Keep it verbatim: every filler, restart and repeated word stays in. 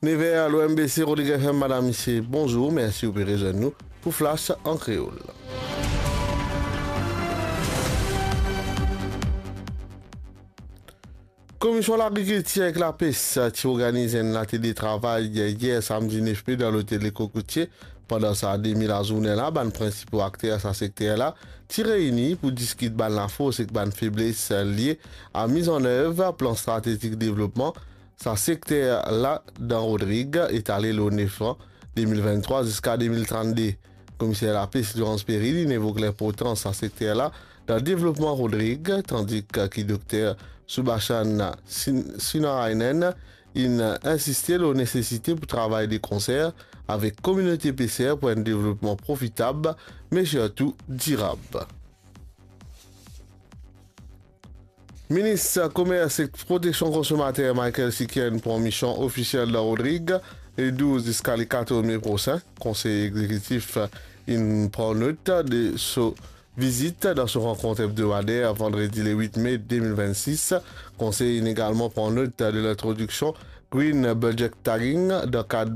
Nev er, l'O M B C Rodrig F M, madam, misie, bonzour, mersi ou pe rezwenn nou pou Flash an Kreol. Komision Lagrikiltir ek Lapes ti organiz enn latelie travay yer samdi nef me dan lotel Lekokotie. Pandan sa demi lazourne la, bann prinsipo akter sa sekter la ti reyni pou diskit bann lafors ek bann febles lie a miz an nev plan stratezik devlopman sa sekter la dan Rodrig, etale lor nef an, de mil venntrwa ziska de mil trannde. Komiser Lapes Laurence Perry, linn evok linportans sa sekter la dan devlopman Rodrig, tandi ki dokter Subhashan Sin-, Sinarayanan inn insiste lor nesesite pou travay de konser avek kominote peser pou enn devlopman profitab, me sirtou dirab. Minis Komers ek Proteksion Konsomater Michael Sikien pran mision ofisiel dan Rodrig le douz ziska le katorz me prosin. Konsey egzekitif inn pran not de so vizit dan so rankont ebdomader vandredi le wit me de mil vennsis. Konsey inn egalman pran not de lintrodiksion Green Budget Tagging dan kad